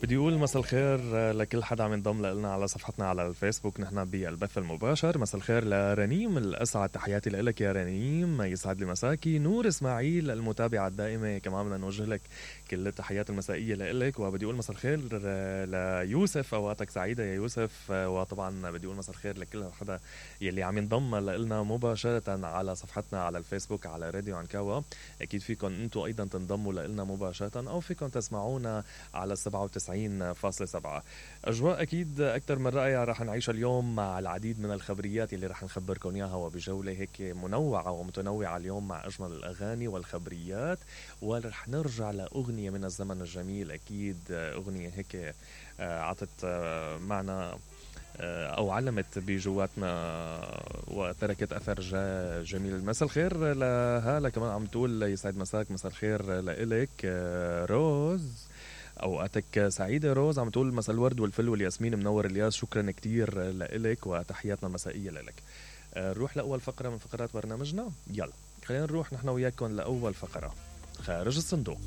بدي أقول مساء الخير لكل حدا عم ينضم لنا على صفحتنا على الفيسبوك. نحن بالبث المباشر. مساء الخير لرنيم الأسعد، تحياتي لك يا رنيم، يسعد لي مساكي. نور إسماعيل المتابعة الدائمة، كمان بدنا نوجه لك كل التحيات المسائية لك. وبدي أقول مساء الخير ليوسف، أوقاتك سعيدة يا يوسف. وطبعا بدي أقول مساء الخير لكل حدا يلي عم ينضم لنا مباشرة على صفحتنا على الفيسبوك على راديو عنكاوا. أكيد فيكم أنتم أيضا تنضموا لنا مباشرة، أو فيكم تسمعونا على 97.7. أجواء أكيد أكثر من رائعة رح نعيشها اليوم مع العديد من الخبريات اللي رح نخبركم إياها، وبجولة هيك منوعة ومتنوعة اليوم مع أجمل الأغاني والخبريات. ورح نرجع لأغنية من الزمن الجميل، أكيد أغنية هيك عطت معنا أو علمت بجواتنا وتركت أثر جميل. مساء الخير لهالة كمان عم تقول يسعد مساك. مساء الخير لإلك روز، أوقاتك سعيدة روز. عم تقول مساء الورد والفل والياسمين، منور الياس. شكرا كتير لإلك وتحياتنا المسائية لإلك. نروح لأول فقرة من فقرات برنامجنا. يلا خلينا نروح نحن وياكم لأول فقرة، خارج الصندوق.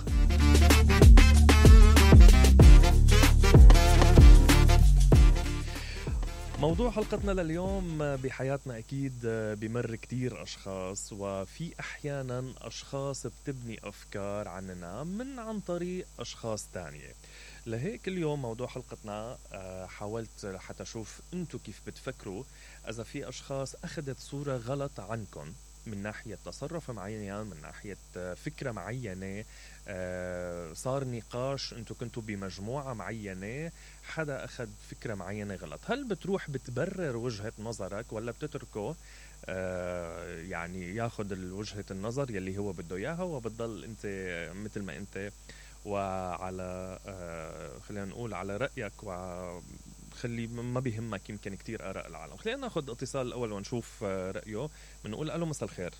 موضوع حلقتنا لليوم، بحياتنا أكيد بمر كتير أشخاص، وفي أحيانا أشخاص بتبني أفكار عننا عن طريق أشخاص تانية. لهيك اليوم موضوع حلقتنا حاولت حتى أشوف أنتوا كيف بتفكروا إذا في أشخاص أخذت صورة غلط عنكم من ناحية تصرف معين، من ناحية فكرة معينة، صار نقاش، انتو كنتوا بمجموعة معينة، حدا أخذ فكرة معينة غلط. هل بتروح بتبرر وجهة نظرك ولا بتتركه يعني ياخد وجهة النظر يلي هو بده إياها، وبتضل انت مثل ما انت وعلى خلينا نقول على رأيك، وخلي ما بيهمك يمكن كتير آراء العالم. خلينا ناخد اتصال الأول ونشوف رأيه. بنقول ألو مساء الخير.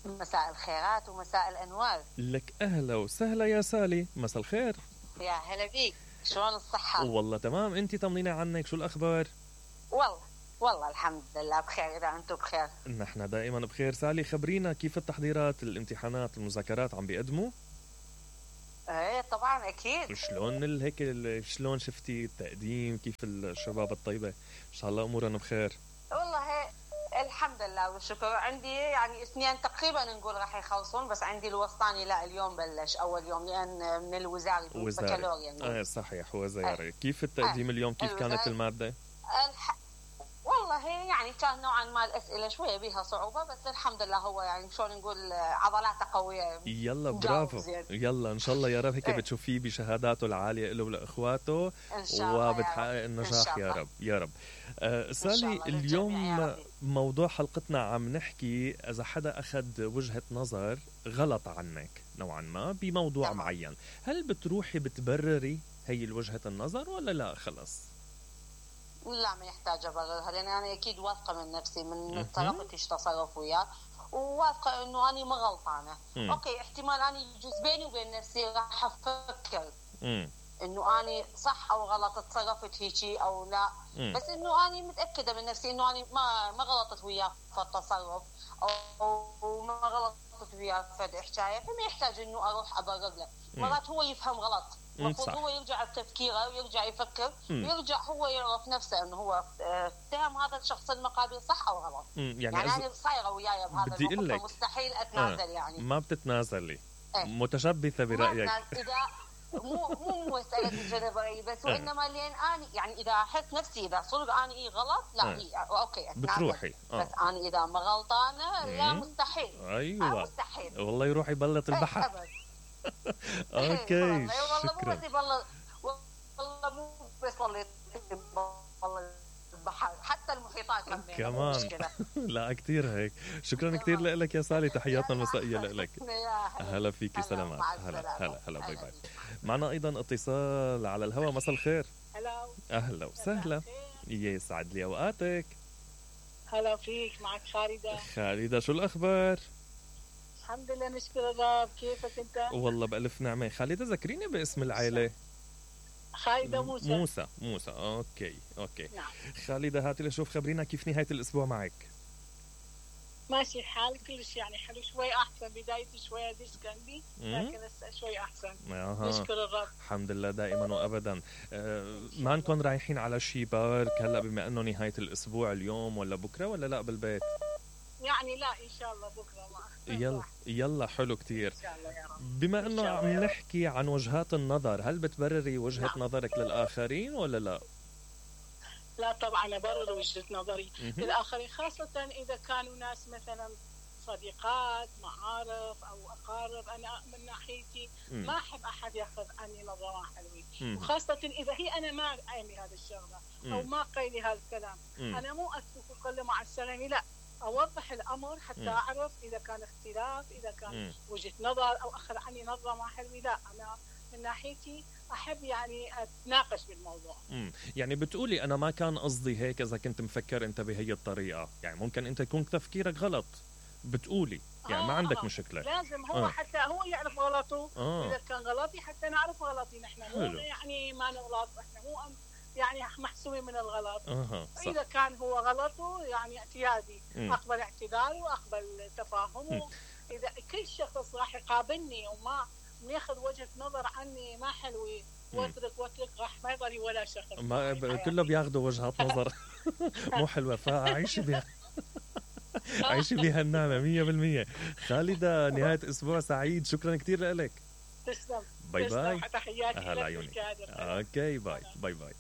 مساء الخيرات ومساء الأنوار لك. أهلا وسهلا يا سالي، مساء الخير. يا هلا بيك، شلون الصحة؟ والله تمام، انتي طمنينا عنك، شو الأخبار؟ والله الحمد لله بخير. إذا أنتم بخير نحن دائما بخير. سالي خبرينا كيف التحضيرات، الامتحانات، المذاكرات عم بيقدموا؟ ايه طبعا اكيد. شلون هيك شلون شفتي التقديم؟ كيف الشباب الطيبة؟ ان شاء الله امورهم بخير. والله الحمد لله والشكر. عندي يعني اثنين تقريبا نقول راح يخلصون، بس عندي الوسطاني لا اليوم بلش اول يوم، لان من الوزاري بكالوريا. صحيح وزاري. كيف التقديم اليوم؟ كيف كانت المادة؟ والله يعني كان نوعا ما الأسئلة شوية بيها صعوبة، بس الحمد لله هو يعني شلون نقول عضلاته قوية. يلا برافو، يلا إن شاء الله يا رب هيك بتشوفيه بشهاداته العالية له ولإخواته، وبتحقق النجاح يا رب يا رب. سالي اليوم موضوع حلقتنا عم نحكي إذا حدا أخذ وجهة نظر غلط عنك نوعا ما بموضوع معين، هل بتروحي بتبرري هي الوجهة النظر ولا لا خلص؟ لا ما يحتاج أبررها، لأن أنا أكيد واثقة من نفسي، من طريقتي تصرف وياه، وواثقة إنه أنا ما غلطانة. أوكي احتمال أنا يجوز بيني وبين نفسي راح أفكر إنه أنا صح أو غلط، تصرفت هيجي أو لا، بس إنه أنا متأكدة من نفسي إنه أنا ما غلطت وياه في التصرف، أو ما غلطت وياه في حكاية، فما يحتاج إنه أروح أبرر له. مرات هو يفهم غلط، المفروض هو يرجع بتفكيره ويرجع يفكر ويرجع هو يعرف نفسه انه هو اتهم هذا الشخص المقابل صح او غلط. يعني انا صايره وياي بهذا الموقف، مستحيل اتنازل. يعني ما بتتنازلي. متشبثه برايك. اذا مو مساله الجدبري بس، وانما لين اني يعني اذا احس نفسي اذا صدق اني غلط لا اوكي بتروحي بس اني اذا ما غلطانه لا مستحيل. ايوه مستحيل والله يروح يبلط البحر. اوكي شكرا. والله مو بس والله البحر، حتى المحيطات كمان لا كتير هيك. شكرا كتير لك يا سالي، تحياتنا المسائية لك. هلا فيكي، سلامات. هلا باي باي. معنا ايضا اتصال على الهواء. مساء الخير. اهلا وسهلا، يسعد لي اوقاتك. هلا فيك، معك خالدة، شو الاخبار؟ الحمد لله نشكر الرب. كيفك انت؟ والله بألف نعمة. خالدة ذكريني باسم العائلة. خالدة موسى. اوكي نعم. خالدة هاتي لشوف، خبرينا كيف نهاية الاسبوع معك. ماشي الحال كلش يعني حلو، شوي احسن. بدايتي شوي ديسكندي لكن هسه شوي احسن. نشكر الرب. الحمد لله دائما وابدا. ما نكون رايحين على شي بارك هلا بما انه نهايه الاسبوع اليوم ولا بكره ولا لا بالبيت؟ يعني لا ان شاء الله بكره يلا يلا حلو كتير. ان شاء الله يا رب. بما انه عم نحكي عن وجهات النظر، هل بتبرري وجهة نظرك للآخرين ولا لا؟ لا طبعا أبرر وجهة نظري للآخرين، خاصة إذا كانوا ناس مثلا صديقات معارف أو أقارب. أنا من ناحيتي ما أحب أحد يأخذ عني نظرة حلوة، وخاصة إذا هي أنا ما أعمل هذا الشغلة أو ما قيلي هذا الكلام. أنا مو أترك وأقول مع السلامة، لا، أوضح الأمر حتى أعرف إذا كان اختلاف، إذا كان وجهة نظر أو أخذ عني نظرة ما حلوة. لا، أنا من ناحيتي أحب يعني أتناقش بالموضوع. يعني بتقولي أنا ما كان قصدي هيك، إذا كنت مفكر أنت بهي الطريقة، يعني ممكن أنت يكون تفكيرك غلط، بتقولي يعني ما عندك مشكلة. لازم هو حتى هو يعرف غلطه. إذا كان غلطي حتى نعرف غلطي نحن، مو يعني ما نغلط، إحنا مو يعني محسوبين من الغلط. إذا كان هو غلطه يعني اعتيادي، أقبل اعتذاره وأقبل تفاهمه. إذا كل شخص راح يقابلني وما ياخذ وجهة نظر عني ما حلوة واترك راح ما يضل ولا شخص. ما كله بياخذوا وجهات نظر مو حلوة، فعيشي بها عيشي بها النعمة 100%. خالدة، نهاية أسبوع سعيد، شكرا كتير لك. تسلم. باي باي. تحياتي لك. اوكي باي باي باي.